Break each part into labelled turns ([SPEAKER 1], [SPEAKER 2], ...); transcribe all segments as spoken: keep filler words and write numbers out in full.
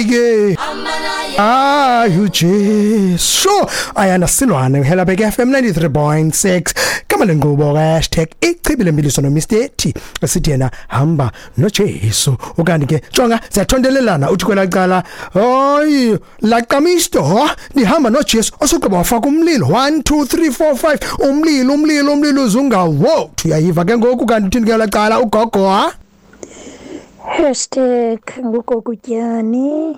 [SPEAKER 1] Ke Ah uJesu ayanda silwane Helabek F M ninety-three point six kama lenqubo hashtag ichibi lembiliso no Mister T esithi yena hamba noJesu. Ukanti ke jonga siyathondelelana uthi kwelacala hayi laqamisto nihamba noJesu osugqiba wafaka umlilo one two three four five umlilo umlilo umlilo uzungawo uyayiva ke ngoku. Kanti uthini ke lacala ugogo ha
[SPEAKER 2] Hashtag ngugokutyani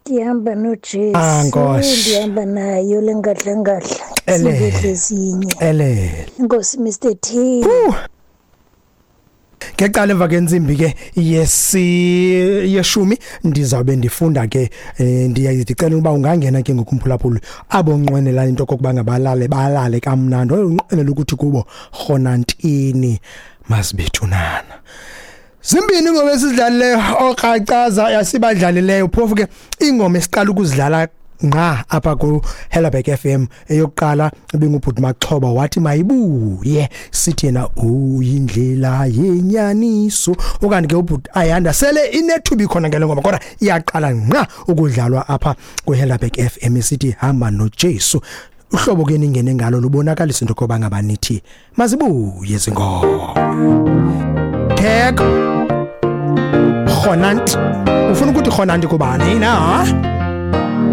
[SPEAKER 2] ndihamba noJesu ndihamba nayo lengadla ngadla
[SPEAKER 1] ezinye ele
[SPEAKER 2] Inkosi Mister T.
[SPEAKER 1] Ngecala emva kentsimbi ke yesi yeshumi ndizawube ndifunda ke ndiyayicela ukuba ungangena ke ngokumphulaphula abo nqwenela into kokuba ngabalale balale kamnandi unqwenela ukuthi kubo khonantini masibethunana. Zimbini ingoma esizidlalileyo okracaza yasibadlalileyo phofu ke ingoma esiqala ukuzidlala nqa apha ku Helabek F M eyokuqala ibingubhuti Maxhoba wathi mayibuye sithi yena uyindlela yenyaniso. Okanye ke ubhuti Ayanda sele inethuba ikhona ngale ngoma kodwa iyaqala nqa ukudlalwa apha ku Helabek F M sithi hamba noJesu. Uhlobo ke ningene ngalo lubonakalisa into koba ngabanithi mazibuye zingoma. Tag Khonant ufuna ukuthi khonanti kubani na?